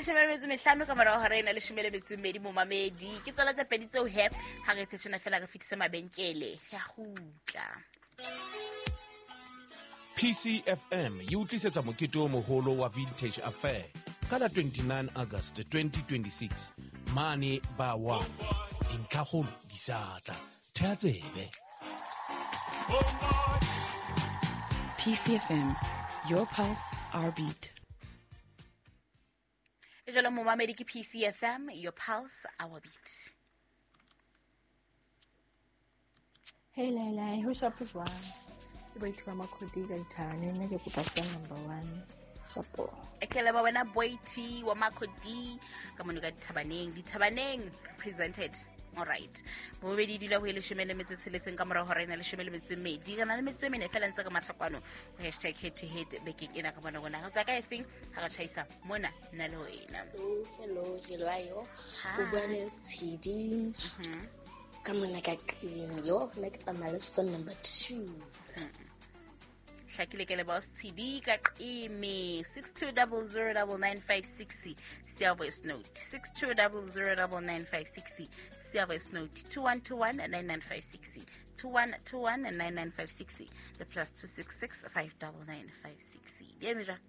Leshome le metso mehlano ka morao hora ena leshome le metso e mmedi momamedi. Ke tsona tse pedi tseo he ha re tshena fela re fetise mabenkele. Ya gutla. PCFM e utlisetsa mokete o moholo wa Vintage Affair ka la 29 August 2026 mane ba wa dintlhakgolo di sa tla thea tsebe. PCFM, your pulse, our beat. E jalo momamedi ke PCFM, your pulse, our beat. Hey Laila, ho shapo jwang? Ke baitho ba Makhodi ka ithane, nna ke kopa song number 1. Shapo. E ke leba wena Boiti wa Makhodi ka mono ka Dithabaneng. Dithabaneng represented. All right. Bobedi dula ho e leshome le metso e tsheletseng ka morao hora ena leshome le metso e mmedi. Re na le metso e mene fela ntse re matha kwano ho hashtag head to head bekeng ena ka bona rona. Re tswa ka efeng ha re tjhaisa mona nna le wena. Hello, hello, hello, ayo. O bua le Tshidi. Ka mona ka qeng yo nna ke tsamaya le son number 2. Hlakile ke leboha Tshidi ka qeme 62009956 siya voice note 62009956 siya voice note 21219956 21219956 le plus 266 59956 di eme jwang?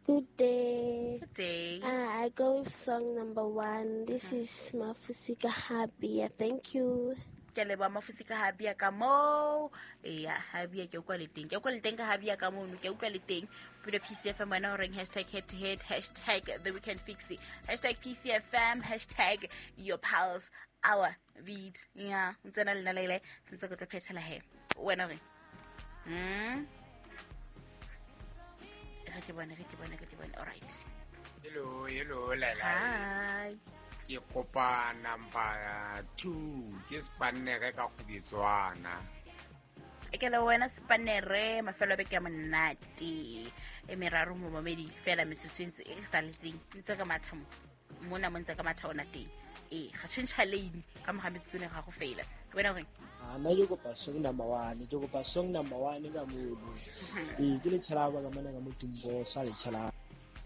Good day. Good day. I go with song number 1. This is Mafusika Habia. Thank you. Ke leboha Mafusika Habia ka moo. Eya, Habia ke utlwa le teng. Ke utlwa le teng ka Habia ka mono. Ke utlwa le teng. Pula PCFM wena o reng hashtag head to head, hashtag the weekend fix, hashtag PCFM, hashtag your pals, our beat. Ya, o tsena le nna le sentse ke tlo phethela he. Wena o reng? Re ke bone, re ke bone, re ke bone. All right. Hello, hello, Laila. Hi. Ke kopa number 2, ke Spanere ka Kgubetswana. E ke le wena Spanere, mafelo a beke a monate. E meraro mo momedi fela metsotso e ntse e saletseng. Ntse ka matha mo. Mona mo ntse ka matha ona teng. E ga tšhentšha lane ka moga metsotso ne ga go fela. Wena o reng? Nna ke kopa song number 1, ke kopa song number 1 ka mono. Ee, ke letšhelaba ka mona ka Motimposo, a letšhelaba.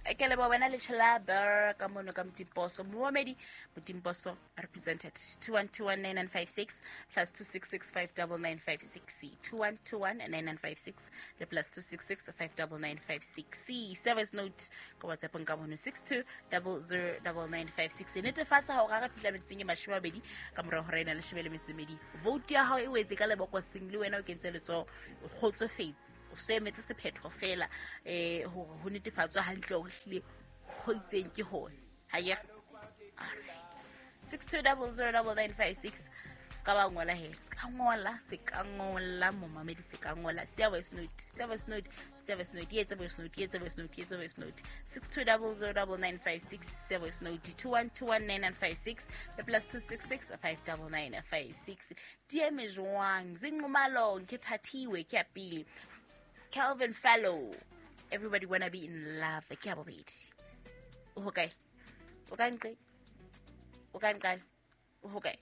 E ke leboha wena letšhelaba ka mono ka Motimposo. Momamedi Motimposo represented 21219956 plus 266599956 21219956 le plus 266599956. Service note ka WhatsApp ka mono 62009956. Netefatsa hore ha re fihla metseng e mashome a mabedi ka morao hora ena leshome le metso e mmedi, vote ya hao e wetse ka lebokoseng le wena o kentse letsoho, o kgotsofetse, o so emetse sephetho fela, hore ho netefatswe hantle hore ehlile ho itseng ke hona. Ha ke re? All right. 62009956. Se ka ba ngola he, se ka ngola, se ka ngola momamedi, se ka ngola. Siya voice note, siya voice note, siya voice note, e etse voice note, e etse voice note, e etse voice note. 62009956, siya voice note, 21219956, le plus 266 59956. Di eme jwang? Zinqumalo, ke thathiwe, ke ya pele. Calvin Fallow, everybody wanna be in love, ke ya bobedi. O hokae? O ka nqe? O ka nqale? O hokae?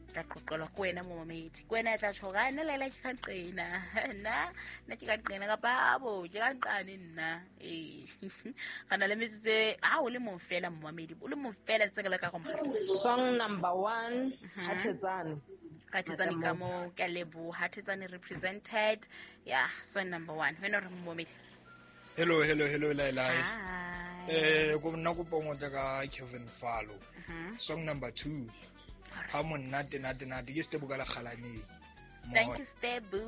Tla qoqelwa ke wena momamedi. Ke wena ya tla tjho hore, nna Laila ke ka nqena. Nna, nna ke ka nqena kapa abo, ke ka nqane nna. Ee. Re na le metsotso e, ha o le mong fela momamedi, o le mong fela ntse ke leka go mo Song number 1, Hathetsane. Hathetsane ka mo, ke a leboha. Hathetsane represented. Yeah, song number 1. Wena o re momamedi. Hello, hello, hello, Laila. Hi. Ko nna kopa ngotla ka Kevin Fallow. Song number 2. Ha monate, nate, nate. Ke Stebu ka lekgalaneng. Thank you, Stebu.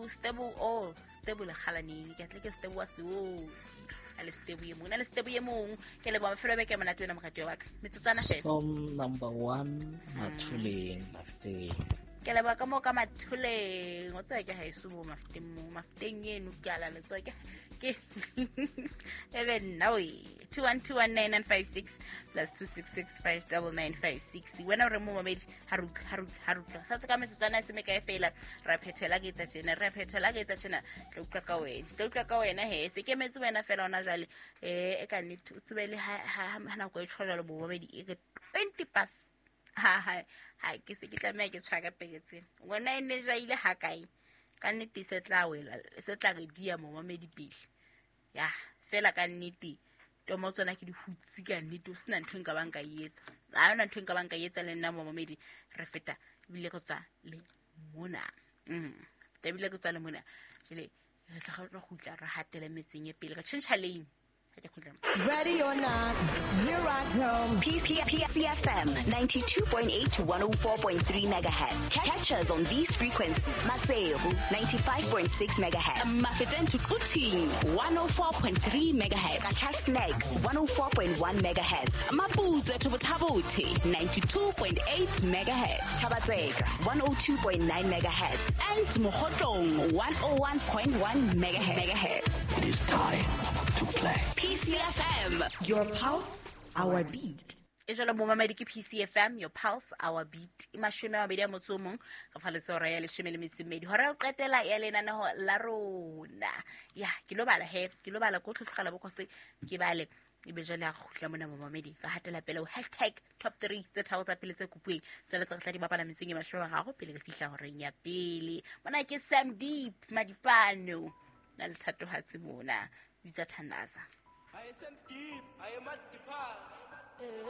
Stebu, oh, Stebu lekgalaneng. Ke atle ke Stebu wa Seoti. A le Stebu e mong. Na le Stebu e mong. Ke leboha mafelo a beke a monate wena moratuwa wa ka. Metsotswana fela. Song number 1, Mathuleng, Mafteng. Ke leboha ka moo ka Mathuleng. O tseba ke haeso mo Mafteng mo. Mafteng eno ke a la letsoho. Ke, ke. E le nna we. 21219956 plus 266599956. Wena o re mo mamedi, ha re utlwa, ha re utlwa, ha re utlwa. Sa tse ka metsotswana e se mekae fela, ra phethela ke etsa tjena, ra phethela ke etsa tjena. Tla utlwa ka wena, tla utlwa ka wena he. Se kemetse wena fela hona jwale. E ka nnete, o tsebe le ha nako e tjho jwalo bo mamedi, e re 20 past. Ha, ha, ha, ke se ke tlameha ke tshware peke tsena. Ngwana e ne jaile ha kae? Ka nnete se tla wela, se tla re dia momamedi pele. Ya, fela ka nnete Tomo tsona ke di hutse ka nnete, o sena ntho e nka bang ka e etsa. Ha yona ntho e nka bang ka e etsa le nna momamedi, re feta ebile re tswa le mona. Ebile re tswa le mona. Jwale re tla re kgutla re hatele metseng e pele, re tjhentjha lane. Ha ke kgutla. Ready or not, here I come. PCFM 92.8 to 104.3 megahertz. Catch us on these frequencies. Maseru 95.6 megahertz. Mafeteng to Quthing 104.3 megahertz. Qacha's Nek 104.1 megahertz. Maputswe to Botha-Bothe 92.8 megahertz. Thaba-Tseka 102.9 megahertz. And Mokhotlong 101.1 megahertz. It is time to play. PCFM. Your pulse, our beat. E jalo momamedi ke PCFM, your pulse, our beat. E 21 ka fa letse hora ya 12. Hora ya ho qetela ya lenaneho la rona. Ya, ke lo bala he, ke lo bala ko tlhotlhogela bokose ke bale. Ebe jwale a kgutla mona momamedi, ka hatela pele ho hashtag top 3 tse tharo tsa pele tse kopuweng. Jwale tse re tla di bapala metsong e 30 pele re fihla horeng ya pele. Mona ke Sam Deep Madipano na le thatohatsi mona, bitsa Thandaza. I am Deep, I am Madipano.